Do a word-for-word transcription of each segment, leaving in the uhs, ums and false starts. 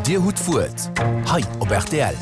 Dir hutt d'Wuert hei op rtl.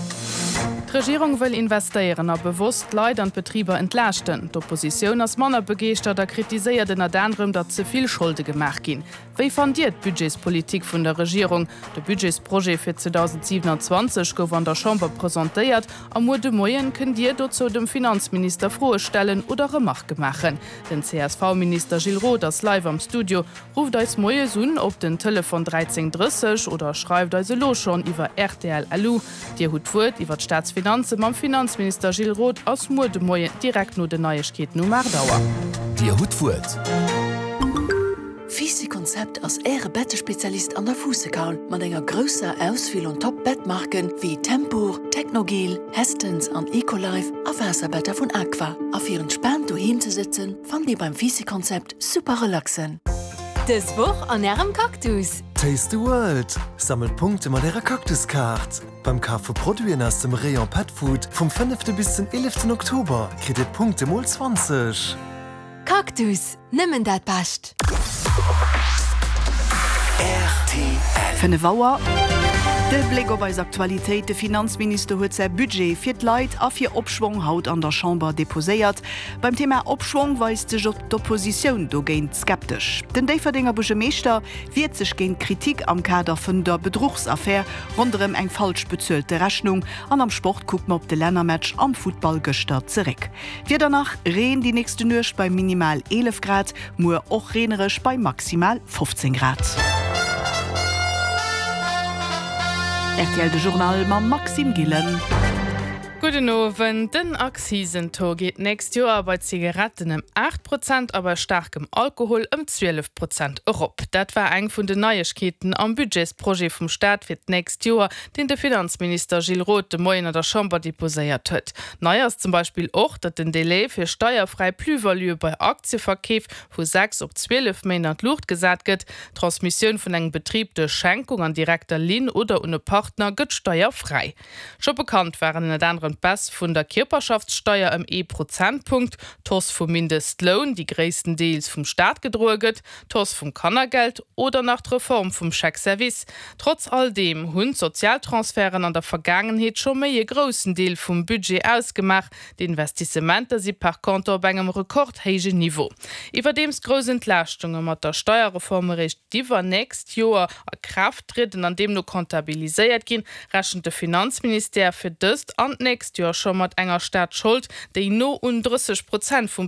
D'Regierung wëll investéieren a bewosst d'Leit an d'Betriber entlaaschten. D'Oppositioun ass manner begeeschtert a kritiséiert ënnert anerem, datt ze vill Scholde gemaach ginn. Wéi fannt Dir d'Budgetspolitik vun der Regierung? De Budgetsprojet fir zweedausendsiwenanzwanzeg gouf an der Chamber presentéiert a muer de Moien kënnt Dir dozou dem Finanzminister Froe stellen oder Remarke maachen. Den C S V-Minister Gilles Roth ass live am Studio. Rufft eis moies un op den Telefon dräizéng drësseg oder schreift eis elo schonn iwwer rtl L U. Dir hutt d'Wuert iwwer d'Staatsfinanze mam Finanzminister Gilles Roth ass muer de Moien direkt no den Neiegkeeten um aacht Auer. Dir hutt d'Wuert. Fisi Konzept ass Äre Bettespezialist an der Fuussekaul mat enger grousser Auswiel un Top-Bettmarken wéi Tempur, Technogel, Hästens an Ecolife a Waasserbetter vun Aqua. A fir entspaant doheem ze sëtzen, fannt Dir beim Fisi Konzept super relaxen. Dës Woch an Ärem Cactus. Taste the World! Sammelt Punkte mat Ärer Cactus-Kaart. Beim Kaf vu Produiten aus dem Rayon Pet Food vum fënnefte bis den eeleften Oktober kritt Dir d'Punkte mol zwanzeg. Cactus, nëmmen dat Bescht. Fënnef Auer. De Bléck op eis Aktualitéit, De Finanzminister huet säi Budget fir d'Leit a fir Opschwong haut an der Chamber deposéiert. Beim Thema Opschwong weist sech och d'Oppositioun dogéint skeptesch. Den Déifferdenger Buergermeeschter wiert sech géint Kritik am Kader vun der Bedruchsaffär ronderëm eng falsch bezuelte Rechnung. An am Sport kuckt mer op de Lännermatch am Futtball gëschter zeréck. Wieder nach, Reen déi nächste Nuecht bei minimal eelef Grad, muer och reenereg bei maximal fofzéng Grad. R T L de Journal mam Maxime Gillen. Gudden Owend. Den Akzisentaux geet d'nächst Joer bei Zigaretten ëm aacht Prozent a bei staarkem Alkohol ëm zwielef Prozent erop. Dat war eng vun den Neiegkeeten am Budgetsprojet vum Staat fir d'nächst Joer, deen de Finanzminister Gilles Roth de Moien an der Chamber deposéiert huet. Nei ass zum Beispill och, datt den Delai fir steierfräi Plus-value bei Aktieverkeef vu sechs op zwielef Méint an d'Luucht gesat gëtt. D'Transmissioun vun engem Betrib duerch Schenkung an direkter Linn oder un e Partner gëtt steierfräi. Scho bekannt waren ënnert anerem d'Baisse vun der Kierperschaftssteier ëm ee Prozentpunkt, d'Hausse vum Mindestloun, déi gréisstendeels vum Staat gedroe gëtt, d'Hausse vum Kannergeld oder nach d'Reform vum Chèque-service. Trotz all deem hunn d'Sozialtransferten an der Vergaangenheet scho méi e groussen Deel vum Budget ausgemaach. D'Investissementer si par contre op engem rekordhéijen Niveau. Iwwerdeems grouss Entlaaschtunge mat der Steierreform eréischt d'iwwernächst Joer a Kraaft trieden an deemno comptabiliséiert ginn, rechent de Finanzministère fir dëst an d'nächst Joer scho mat enger Staatsschold, déi no un drësseg Prozent vum